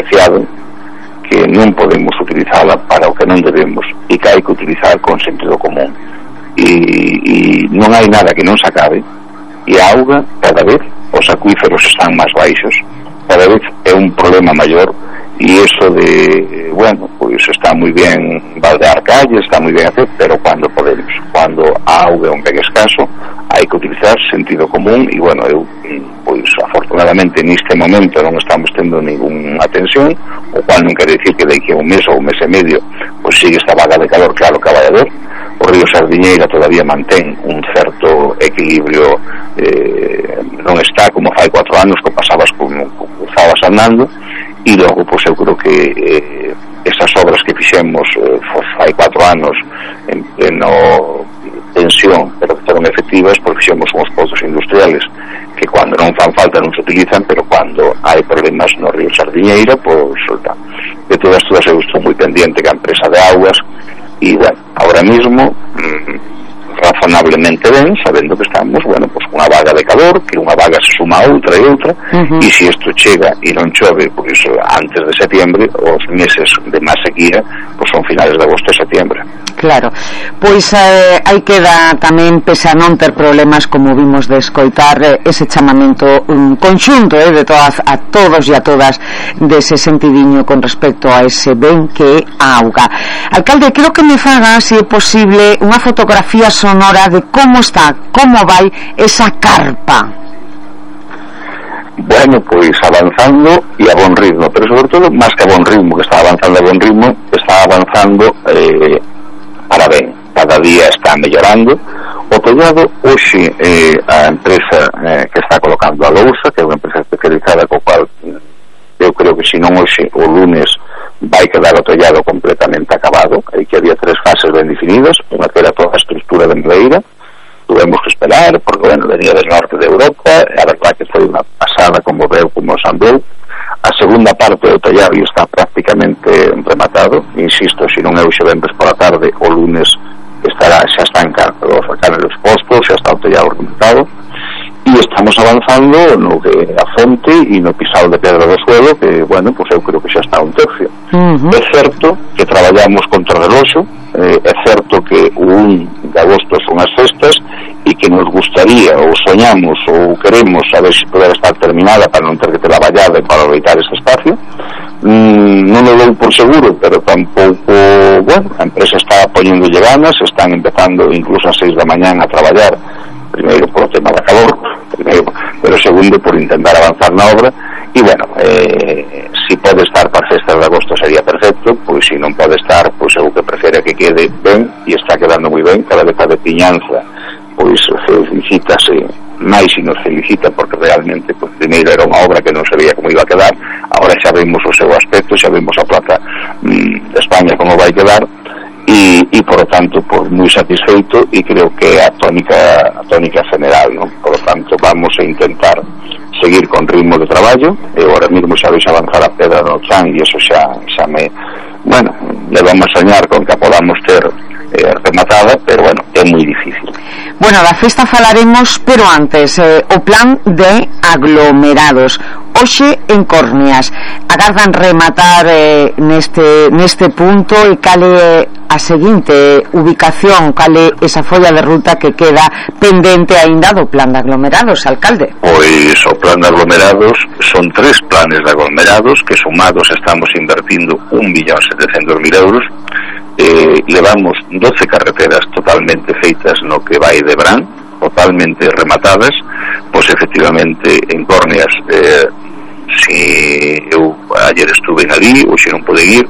preciado, que non podemos utilizala para o que non debemos e que hai que utilizar con sentido común, e non hai nada que non se acabe, e a auga cada vez, os acuíferos están máis baixos, cada vez é un problema maior, e eso de, bueno, pois está moi ben baldear calles, está moi ben hacer, pero cando podemos, cando a auga é un ben escaso, hai que utilizar sentido común, e bueno, eu, pois afortunadamente neste momento non estamos tendo ninguna tensión, o cual non quere dicir que daqui a un mes ou un mes e medio pois sigue esta vaga de calor, claro que vai haber. O río Sardiñeira todavía mantén un certo equilibrio, non está como fai 4 anos que pasabas como cruzabas andando, e logo, pois eu creo que esas obras que fixemos fai 4 anos en pleno tensión, pero que foron efectivas, porque fixemos uns pozos industriales que cando non fan falta non se utilizan, pero cando hai problemas no río Sardiñeira, pois solta. De todas eu estou moi pendiente que a empresa de augas, e bueno, ahora mismo razonablemente ben, sabendo que estamos, bueno, pues unha vaga de calor, que unha vaga se suma a outra e outra, e se isto chega e non chove, pois antes de setembro, os meses de máis sequía, pois son finales de agosto e setembro. Claro, pois aí queda tamén, pese a non ter problemas, como vimos de escoitar, ese chamamento conxunto de todas, a todos e a todas dese sentidiño con respecto a ese ben que é a auga. Alcalde, creo que me faga, se é posible, unha fotografía sonora de como está, como vai esa carpa. Bueno, pois avanzando e a bon ritmo, pero sobre todo, máis que a bon ritmo, que está avanzando a bon ritmo, está avanzando para ben, cada día está mellorando. O tellado, hoxe a empresa que está colocando a lousa, que é unha empresa especializada, co cual eu creo que se non hoxe, o lunes vai quedar o tellado completamente acabado, e que había 3 fases ben definidas, unha que era toda a estructura de madeira, tuvemos que esperar, porque, bueno, venía del norte de Europa, a verdad que foi unha pasada como veu, como samblou. A segunda parte do tellado está prácticamente rematado, insisto, se non é hoxe venres pola tarde, o lunes estará, xa están os canelos postos, xa está o tellado rematado, e estamos avanzando no que a fonte e no pisado de pedra do suelo, que, bueno, pues eu creo que xa está un tercio. É certo que traballamos contra o reloxo, é certo que o 1 de agosto son as festas, e que nos gustaría, ou soñamos, ou queremos saber se poder estar terminada para non ter que ter a vallada e para aproveitar ese espacio. Non o dou por seguro, pero tampouco, bueno, a empresa está poñéndolle ganas, están empezando incluso a 6 da mañán a traballar, primeiro por o tema da calor, pero segundo por intentar avanzar na obra, e bueno, si pode estar para festas de agosto sería perfecto, pois se non pode estar, pois eu que prefere que quede ben, e está quedando moi ben, cada vez a de Piñanza pois felicítase máis e nos felicita, porque realmente, pois, primeiro era unha obra que non sabía como iba a quedar, agora xa vemos o seu aspecto, xa vemos a plaza de España como vai quedar, e por lo tanto, pois, moi satisfeito, e creo que a tónica general, non? Por lo tanto, vamos a intentar seguir con ritmo de traballo, e agora mesmo xa vais avanzar a pedra no chan, e eso xa me, bueno, le vamos a soñar con que podamos ter rematada, pero bueno, é moi difícil. Bueno, da festa falaremos, pero antes, o plan de aglomerados. Hoxe en Córneas agardan rematar neste punto, e cale a seguinte ubicación, cale esa folla de ruta que queda pendente aínda do plan de aglomerados, alcalde? Pois o plan de aglomerados son 3 planes de aglomerados que sumados estamos invertindo 1.700.000 euros. Levamos 12 carreteras totalmente feitas no que vai de Brán, totalmente rematadas. Pois efectivamente en Córneas, si eu ayer estuve ali, hoxe non pude ir,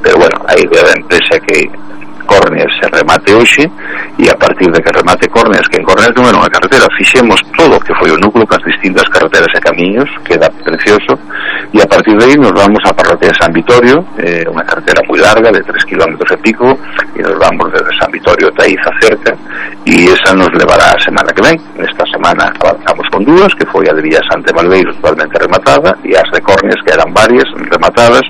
pero bueno, a idea da empresa que Córneas se remate hoxe, e a partir de que remate Córneas, que en Córneas non era unha carretera, fixemos todo o que foi o núcleo cas distintas carreteras e camiños, queda precioso, e a partir de aí nos vamos á parroquia de San Vitorio, unha carretera moi larga de 3 km e pico, e nos vamos desde San Vitorio ata Iza cerca, e esa nos levará a semana que ven. Esta semana avanzamos con 2, que foi a de Villasante Malveiro totalmente rematada, e as de Córneas, que eran varias rematadas,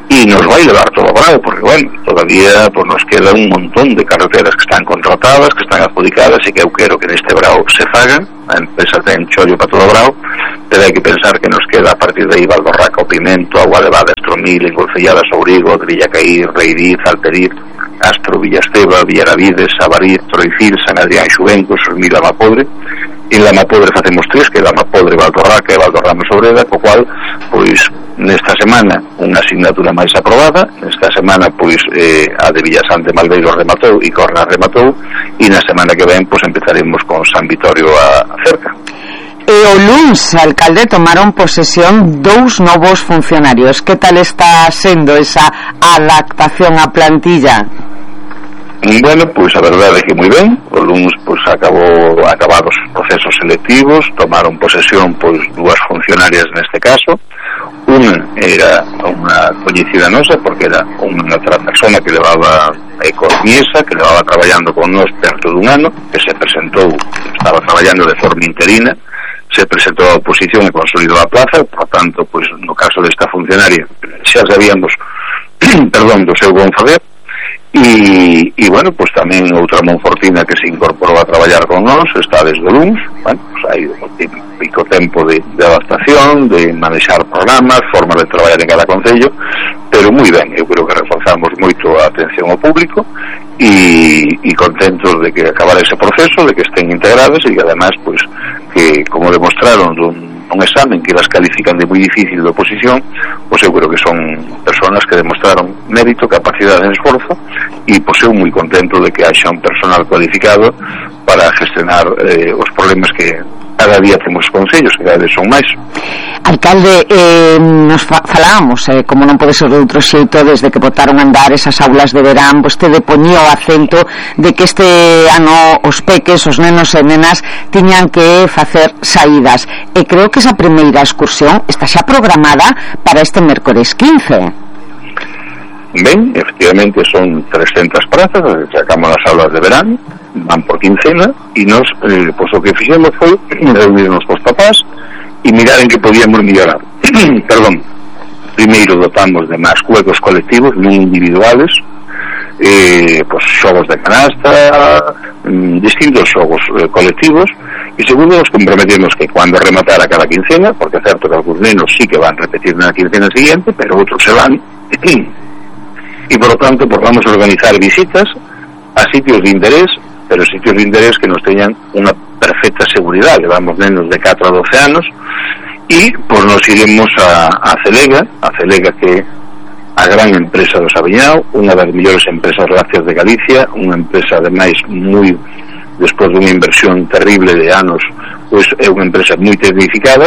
e nos vai levar todo o Brao, porque bueno, todavía pues, nos queda un montón de carreteras que están contratadas, que están adjudicadas, e que eu quero que neste Brao se fagan. A empresa ten chollo para todo o Brao, pero hai que pensar que nos queda a partir de aí Valborraca, o Pimento, Agua Levada, Villamil, Engolcelladas, Ourigo, Villacaí, Reidiz, Alperiz, Astro, Villasteva, Villaravides, Sabariz, Troicil, San Adrián, Xuvencos, Sormil, Lamapodre. En Lamapodre facemos 3, que é Lamapodre, Valtorraca e Valtorramos Obreda, co cual, pois, nesta semana unha asignatura máis aprobada, nesta semana, pois, a de Villasante Malveiro rematou e Corna rematou, e na semana que ven, pois, empezaremos con San Vitorio a cerca. E o luns, alcalde, tomaron posesión 2 novos funcionarios. Que tal está sendo esa adaptación á plantilla? Bueno, pois a verdade é que moi ben. O luns pois acabados os procesos selectivos, tomaron posesión pois 2 funcionarias neste caso. Unha era unha coñecida nosa porque era unha outra persona que levaba economista, que levaba traballando con nós perto dun ano, que se presentou, estaba traballando de forma interina, se presentou a oposición e consolidou a plaza. Por tanto, pois no caso desta funcionaria xa sabíamos perdón, do seu bon faber. E bueno, pues tamén outra monfortina que se incorporou a traballar con nós está desde o luns. Bueno, pues hai un típico tempo de adaptación, de manexar programas, formas de traballar en cada concello, pero moi ben. Eu creo que reforzamos moito a atención ao público e contentos de que acabar ese proceso, de que estén integradas e que además, pues, que como demostraron un examen que las califican de moi difícil de oposición, pois eu creo que son personas que demostraron mérito, capacidade e esforzo, e pois eu moi contento de que haxa un personal cualificado para gestionar os problemas que cada día temos concellos, que cada vez son máis. Alcalde, nos falábamos, como non pode ser de outro xeito, desde que botaron a andar esas aulas de verán, vostede poñía o acento de que este ano os peques, os nenos e nenas tiñan que facer saídas, e creo que esa primeira excursión está xa programada para este mércores 15. Ben, efectivamente son 300 prazas, sacamos as aulas de verán, van por quincena, e nos, pois o que fixemos foi reunirnos cos papás e mirar en que podíamos mellorar. Perdón. Primeiro dotamos de máis juegos colectivos, non individuales, pois xogos de canasta, distintos xogos colectivos, e segundo nos comprometemos que cando rematara cada quincena, porque é certo que algúns nenos sí que van repetir na quincena siguiente, pero outros se van, e por lo tanto pues vamos a organizar visitas a sitios de interés, pero sitios de interés que nos teñan unha perfecta seguridade. Levamos nenos de 4 a 12 anos e pues nos iremos a Celega que é a gran empresa do Sabiñao, unha das mellores empresas lácteas de Galicia, unha empresa ademais moi, despois dunha inversión terrible de anos, pois é unha empresa moi tecnificada.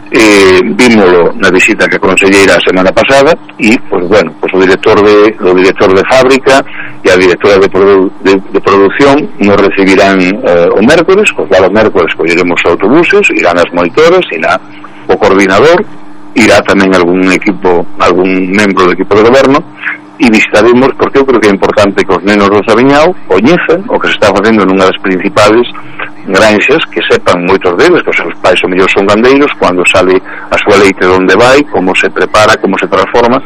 Vímolo na visita que a conselleira a semana pasada e, pues bueno, pues o director de fábrica e a directora de produción nos recibirán o mércores, pues o mércores colleremos autobuses, irán as monitoras, irá o coordinador, irá tamén algún membro do equipo de goberno e visitaremos, porque eu creo que é importante que os nenos do Sabiñao coñezan o que se está facendo nunha das principales granxas, que sepan moitos deles que os seus pais o mellor son gandeiros, cando sale a súa leite de onde vai, como se prepara, como se transforma,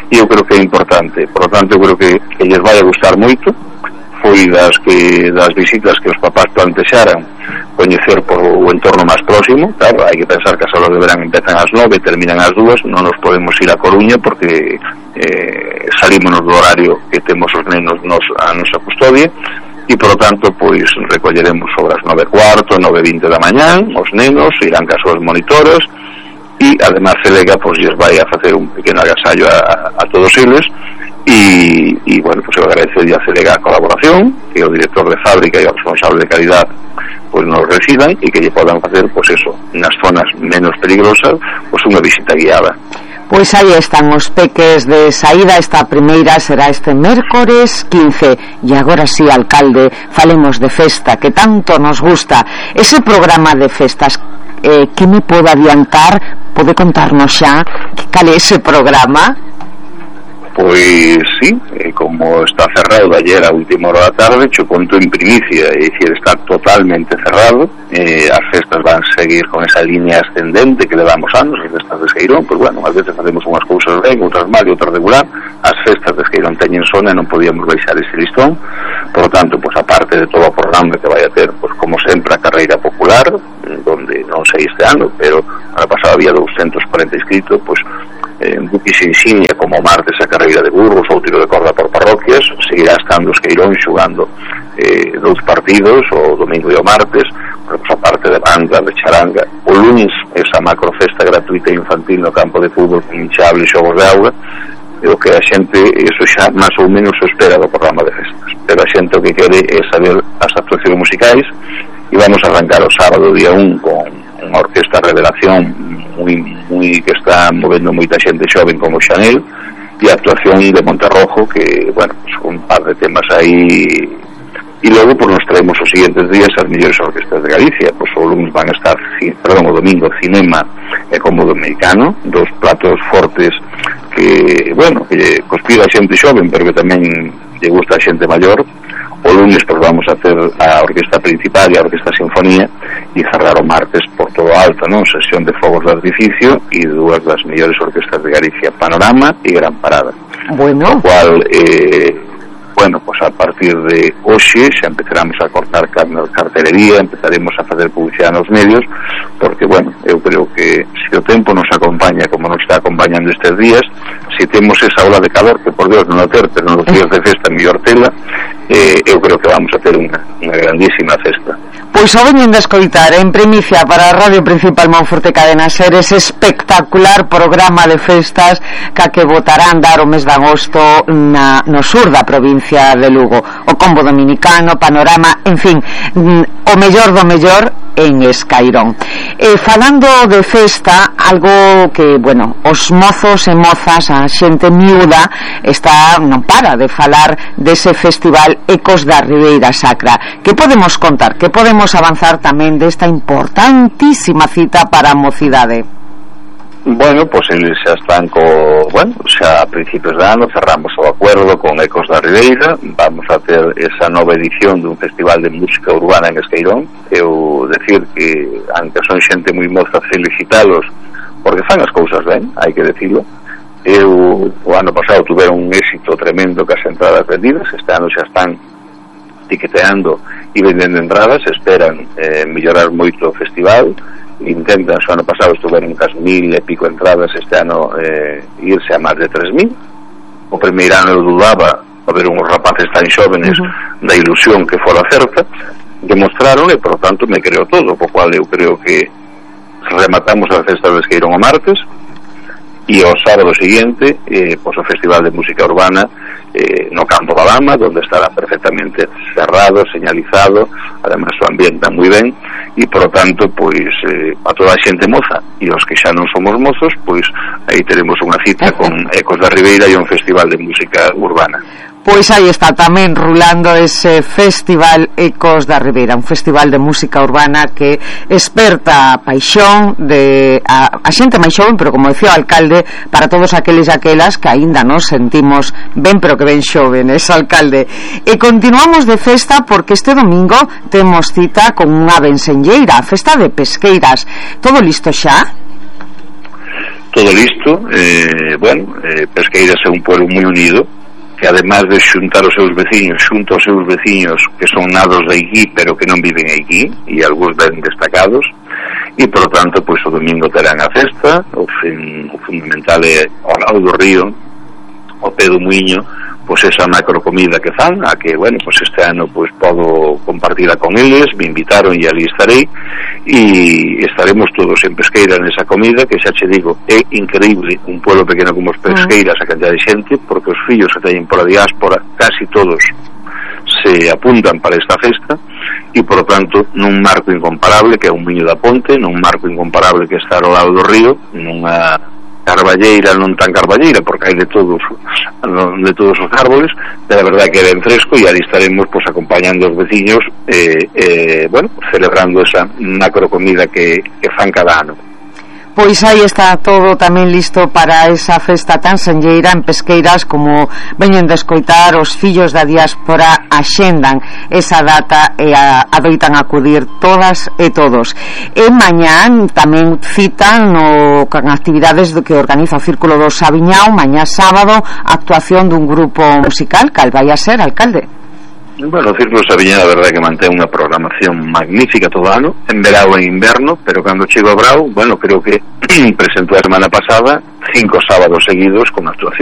e eu creo que é importante. Por lo tanto, eu creo que lles vai a gustar moito. Foi das visitas que os papás plantexaran coñecer por o entorno máis próximo. Claro, hai que pensar que as aulas de verán empezan ás 9 e terminan ás 2, non nos podemos ir a Coruña porque salimos do horario que temos os nenos a nosa custodia, e por lo tanto pois recolleremos sobre as 9:15, 9:20 da mañán os nenos, irán cas súas monitoras e además Celega pois lles vai a facer un pequeno agasallo a todos eles e bueno, pues eu agradecer a Celega a colaboración, que o director de fábrica e o responsable de calidad pues nos reciban e que lle podan facer pues eso, nas zonas menos peligrosas, pues unha visita guiada. Pois aí están os peques de saída. Esta primeira será este mércores 15. E agora sí, alcalde, falemos de festa, que tanto nos gusta. Ese programa de festas, que me pode adiantar? Pode contarnos xa cal é ese programa? Pois sí, como está cerrado de ayer a última hora da tarde, cho conto en primicia, é dicir, está totalmente cerrado. As festas van seguir con esa línea ascendente que levamos anos, as festas de Esqueirón, pois bueno, ás veces facemos unhas cousas ben, outras mal e outras regular. As festas de Esqueirón teñen sona e non podíamos baixar ese listón. por lo tanto, pues aparte de todo o programa que vai a ter, pues como sempre, a carreira popular, donde non sei este ano, pero ano pasado había 240 inscritos, pues Buque se insignia como martes a carreira de burros ou tiro de corda por parroquias, seguirá estando os Queirón xugando 2 partidos, o domingo e o martes, pues aparte de banda, de charanga, o lunes esa macrofesta gratuita infantil no campo de fútbol con hinchable e xogos de auga, o que a xente, eso xa máis ou menos se espera do programa de festas, pero a xente o que quere é saber as actuacións musicais, e vamos a arrancar o sábado día 1 con unha orquesta Revelación moi que está movendo moita xente xoven como Chanel, e a actuación de Monterrojo, que, bueno, pues un par de temas aí, e logo pues nos traemos os siguientes días as mellores orquestas de Galicia. Pues o lunes van a estar, o domingo, Cinema e Cómodo Americano, 2 platos fortes que, bueno, que conspira a xente xoven, pero que tamén lle gusta a xente maior. O lunes pues vamos a ter a orquesta principal e a orquesta sinfonía, e cerrar o martes por todo alto, non? Sesión de fogos de artificio e 2 das mellores orquestas de Galicia, Panorama e Gran Parada. Bueno, o cual bueno, pues a partir de hoxe xa empezaremos a cortar cartelería, empezaremos a facer publicidade nos medios, porque, bueno, eu creo que se o tempo nos acompaña como nos está acompañando estes días, se temos esa ola de calor, que por Dios non o ter, pero nos días de festa mellor tela, eu creo que vamos a ter unha grandísima festa. Pois o veñen de escoitar en primicia para a Radio Principal Monforte Cadena Ser ese espectacular programa de festas que votarán dar o mes de agosto no sur da provincia de Lugo, o Combo Dominicano, Panorama, en fin, o mellor do mellor en Escairón. Falando de festa, algo que, bueno, os mozos e mozas, a xente miúda non para de falar dese festival Ecos da Ribeira Sacra. Que podemos contar? Que podemos avanzar tamén desta importantísima cita para a mocidade? Bueno, pues eles xa están xa a principios de ano cerramos o acuerdo con Ecos da Ribeira, vamos a ter esa nova edición dun festival de música urbana en Escairón. Eu decir que, aunque son xente moi moza, felicitalos porque fan as cousas ben, hai que decirlo. Eu, o ano pasado, tuveron un éxito tremendo que as entradas vendidas, este ano xa están tiqueteando e vendendo entradas, esperan mellorar moito o festival, intentan, o ano pasado estuveron cas 1000 e pico entradas, este ano irse a máis de 3000. O primeiro ano eu dudaba a ver uns rapaces tan xóvenes da ilusión que fora certa, demostraron e por tanto me creo todo, po cual eu creo que rematamos a festa de Escairón o martes e o sábado seguinte pois o Festival de Música Urbana no Campo da Lama, donde estará perfectamente cerrado, señalizado, además o ambiente está moi ben e por lo tanto pois a toda a xente moza e os que xa non somos mozos, pois aí teremos unha cita con Ecos da Ribeira e un festival de música urbana. Pois aí está tamén rulando ese Festival Ecos da Ribeira, un festival de música urbana que esperta a paixón de a xente máis xoven, pero como decía o alcalde, para todos aqueles e aquelas que aínda nos sentimos ben, pero que ben xóvenes, alcalde. E continuamos de festa porque este domingo temos cita con unha bensenlleira, a festa de Pesqueiras. Todo listo xa? Todo listo. Pesqueiras é un pueblo moi unido, que además de xuntar os seus veciños, xunta os seus veciños que son nados de aquí pero que non viven aquí e algúns ben destacados, e por lo tanto pois o domingo terán a festa. O fundamental é ao lado do río, o pé do muiño, pois esa macro comida que fan, a que, bueno, pois este ano pois podo compartila con eles, me invitaron e ali estarei, e estaremos todos en Pesqueira nesa comida, que xa che digo, é increíble un pueblo pequeno como os Pesqueiras, a cantidad de xente, porque os fillos que teñen pola diáspora, casi todos se apuntan para esta festa, e por lo tanto nun marco incomparable que é un Miño da Ponte, nun marco incomparable que está ao lado do río, nunha carballeira, non tan carballeira porque hai de todos os árboles, de la verdad que é ben fresco, e ali estaremos pues acompañando os veciños celebrando esa macro comida que fan cada ano. Pois aí está todo tamén listo para esa festa tan senlleira en Pesqueiras, como veñen de escoitar os fillos da diáspora axendan esa data e adoitan acudir todas e todos. E mañán tamén citan con actividades que organiza o Círculo do Sabiñao, mañá sábado, actuación dun grupo musical. Cal vai a ser, alcalde? Bueno, o Círculo Sabiñá, a verdade que mantén unha programación magnífica todo ano, en verao e inverno, pero cando chego a Brao, bueno, creo que presentou a semana pasada 5 sábados seguidos con actuación.